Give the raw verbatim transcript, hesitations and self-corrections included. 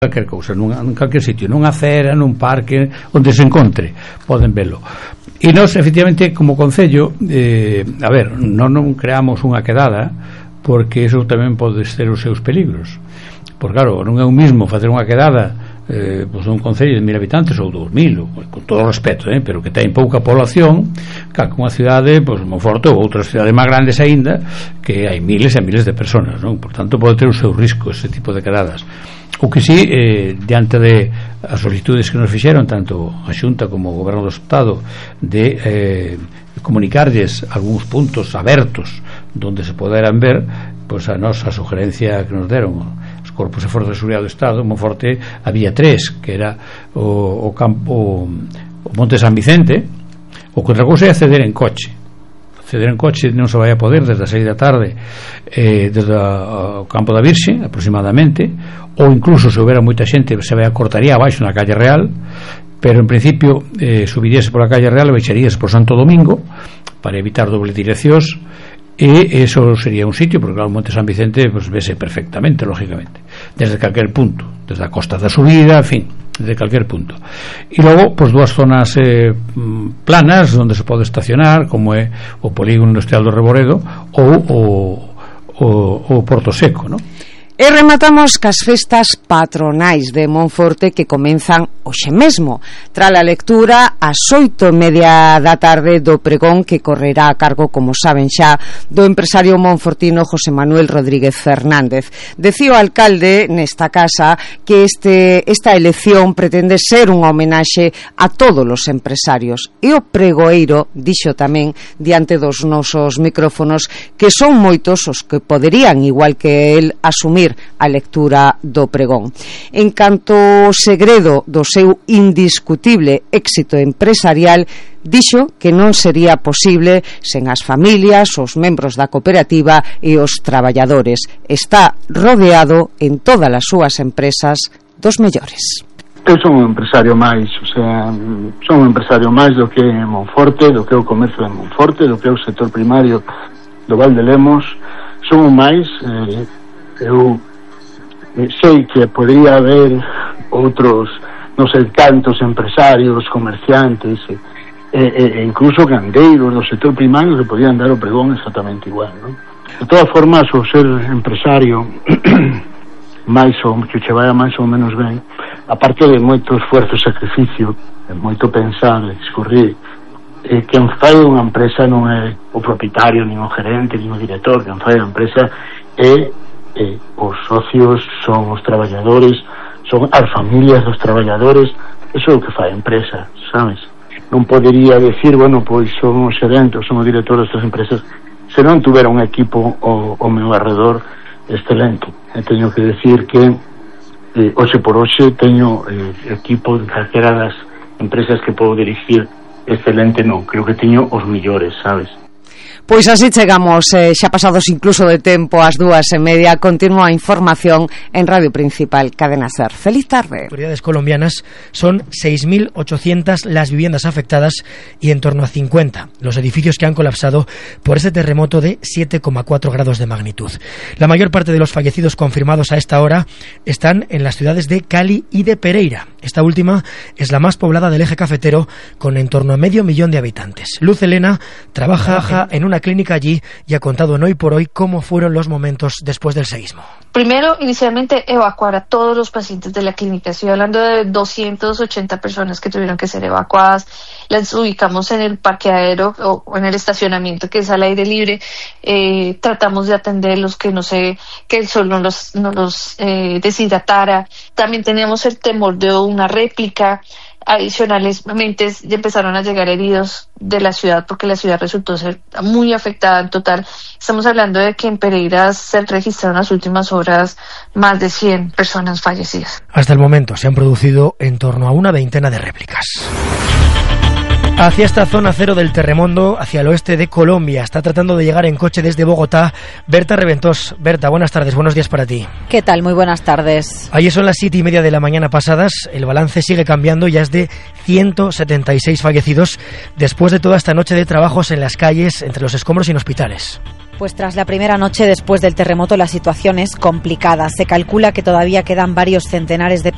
calquer cousa, nun, nun calquer sitio, nunha acera, nun parque, onde se encontre, poden velo. E nós, efectivamente, como Concello, eh, a ver, non, non creamos unha quedada, porque iso tamén pode ser os seus peligros. Porque, claro, non é o mismo facer unha quedada eh, pois un concello de mil habitantes ou dous mil, con todo o respeto, eh, pero que ten pouca población, que unha cidade, pois, Monforte ou outras cidades máis grandes aínda, que hai miles e miles de personas, non? Por tanto, pode ter o seu risco ese tipo de quedadas. O que sí, eh, diante de as solicitudes que nos fixeron tanto a Xunta como o Goberno do Estado de eh, comunicarlles algúns puntos abertos donde se poderan ver, pois a nosa sugerencia que nos deron os Corpos de Forzas de Seguridade do Estado, en Monforte había tres, que era o, o campo o Monte San Vicente. O que outra cousa é acceder en coche. Acceder en coche non se vai a poder desde as seis da tarde eh, desde o campo da Virxe aproximadamente, ou incluso se houbera moita xente se vai a cortaría abaixo na calle Real, pero en principio eh, subiríase pola calle Real e baixaríase por Santo Domingo para evitar doble direccións, e eso sería un sitio, porque claro, o Monte San Vicente pues, vese perfectamente, lógicamente, desde calquer punto, desde a costa da subida, en fin, desde calquer punto. E logo, pues, dúas zonas eh, planas onde se pode estacionar, como é o Polígono Industrial do Reboredo ou o, o, o Porto Seco, non? E rematamos cas festas patronais de Monforte que comenzan hoxe mesmo, tras a lectura ás oito e media da tarde do pregón que correrá a cargo, como saben xa, do empresario monfortino José Manuel Rodríguez Fernández. Decía o alcalde nesta casa que este, esta elección pretende ser unha homenaxe a todos os empresarios, e o pregoeiro dixo tamén diante dos nosos micrófonos que son moitos os que poderían, igual que el, asumir a lectura do pregón. En canto ao segredo do seu indiscutible éxito empresarial, dixo que non sería posible sen as familias, os membros da cooperativa e os traballadores. Está rodeado en todas as súas empresas dos mellores. Eu son un empresario máis, o sea, son un empresario máis do que é Monforte, do que é o comercio de Monforte, do que é o sector primario do Val de Lemos. Son un máis, eh, eu sei que podría haber outros, non sei, tantos empresarios, comerciantes e, e, e incluso gandeiros do sector primario que podían dar o pregón exactamente igual, non? De todas formas, o ser empresario máis ou que che vaya máis ou menos ben, aparte de moito esforzo e sacrificio, de moito pensar, discurrir, eh, quen fai unha empresa non é o propietario, nin o gerente, nin o director. Quen fai a empresa é Eh, os socios, son os traballadores, son as familias dos traballadores. Eso é o que fai a empresa, sabes? Non podería decir, bueno, pois son o xerente, son o director destas empresas, se non tuvera un equipo ao, ao meu alrededor excelente. E teño que decir que eh, hoxe por hoxe teño eh, equipo de calquera das empresas que podo dirigir excelente, non, creo que teño os millores, sabes? Pois así chegamos, eh, xa pasados incluso de tempo, ás dúas e media. Continúa a información en Radio Principal, Cadena SER. Feliz tarde. Autoridades colombianas, son seis mil ochocientas las viviendas afectadas y en torno a cincuenta los edificios que han colapsado por este terremoto de siete coma cuatro grados de magnitud. La mayor parte de los fallecidos confirmados a esta hora están en las ciudades de Cali y de Pereira. Esta última es la más poblada del eje cafetero, con en torno a medio millón de habitantes. Luz Elena trabaja en una clínica allí y ha contado en Hoy por Hoy cómo fueron los momentos después del seísmo. Primero, inicialmente, evacuar a todos los pacientes de la clínica. Estoy hablando de doscientas ochenta personas que tuvieron que ser evacuadas. Las ubicamos en el parqueadero o en el estacionamiento, que es al aire libre. Eh, tratamos de atenderlos, que no sé, que el sol no los, no los eh, deshidratara. También teníamos el temor de una réplica. Adicionalmente empezaron a llegar heridos de la ciudad, porque la ciudad resultó ser muy afectada en total. Estamos hablando de que en Pereira se registraron en las últimas horas más de cien personas fallecidas. Hasta el momento se han producido en torno a una veintena de réplicas. Hacia esta zona cero del terremoto, hacia el oeste de Colombia, está tratando de llegar en coche desde Bogotá Berta Reventós. Berta, buenas tardes, buenos días para ti. ¿Qué tal? Muy buenas tardes. Ayer son las siete y media de la mañana pasadas, el balance sigue cambiando, ya es de ciento setenta y seis fallecidos después de toda esta noche de trabajos en las calles, entre los escombros y en hospitales. Pues tras la primera noche después del terremoto la situación es complicada. Se calcula que todavía quedan varios centenares de